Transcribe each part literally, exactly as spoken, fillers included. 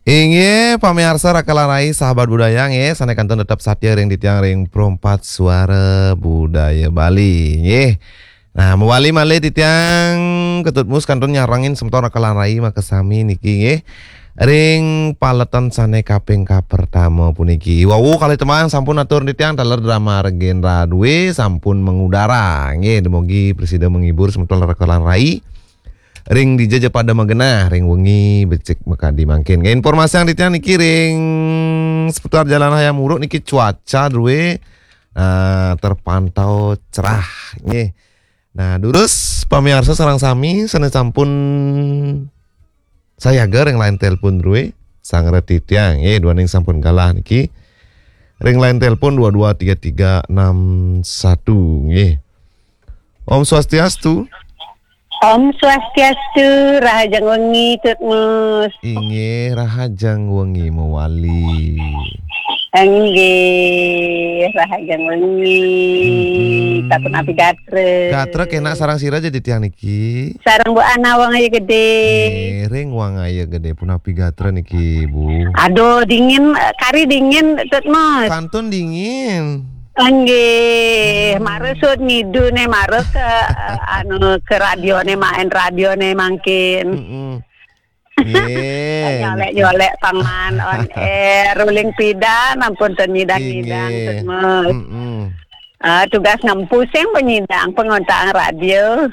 Inggih, pamiarsa Raka lan Rai, sahabat budaya, nggih, sané kantun tetep satia ring titiang ring Pro empat Suara Budaya Bali, nggih. Nah, mawali malih titiang Ketut Mus kantun nyarengin semeton Raka lan Rai makasami niki, nggih. Ring paletan sané kaping kapertama puniki. Wau kalih tembang sampun atur titiang taler drama Regen Radwe sampun mengudara. Nggih, dumugi prasida menghibur semeton Raka lan Rai. Ring dija ja pada magenah, ring wengi becik makadi mangkin. Nggih, informasiang titiang niki ring seputar Jalan Hayam Wuruk niki cuaca drué, eh, terpantau cerah, nggih. Nah, durus pamiarsa sareng sami sané sampun sayaga ring line telepon drué, sareng titiang, nggih, duaning sampun galah niki. Ring line telepon dua dua tiga tiga enam satu, nggih. Om Swastiastu. Om Swastiastu, rahajeng wengi, Tut Mus. Inggih, rahajeng wengi mawali. Inggih, rahajeng wengi. Mm-mm. Sapunapi gatra? Gatra kénak sareng sira ja titiang niki. Sareng Bu Ana Wangaya Gedé. Nggih, ring Wangaya Gedé punapi gatra niki, Bu? Aduh, dingin, eh, kari dingin, Tut Mus. Kantun dingin. Inggih, hmm, mara suud ngiduné, mara ke, eh, anu, ke radioné, main radioné mangkin. Mm-mm. Nggih. Nyolek-nyolek pang maan on air, uling pidan, ampun ten nyidang-nyidang, inggih, Tut Mus. Mm-mm. Ah, tugas ngempu sing penyidang pengontang radio.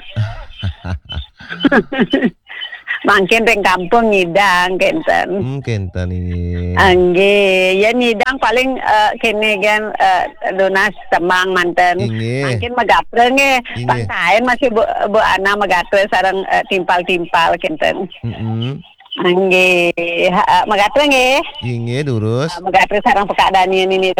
Mangkin ring kampung nyidang kénten. Hmm, kénten, inggih. Ah, nggih, ya nyidang paling, eh, kéné gén, eh, lunas tembang manten. Inggih. Mangkin magatra nggih. Inggih. Pang taén masih Bu, Bu Ana magatra sareng, eh, timpal-timpal kénten. Mm-mm. Ah, nggih, ha, eh, magatra nggih. Inggih, durus. Eh, magatra sareng Pekak Dani niki.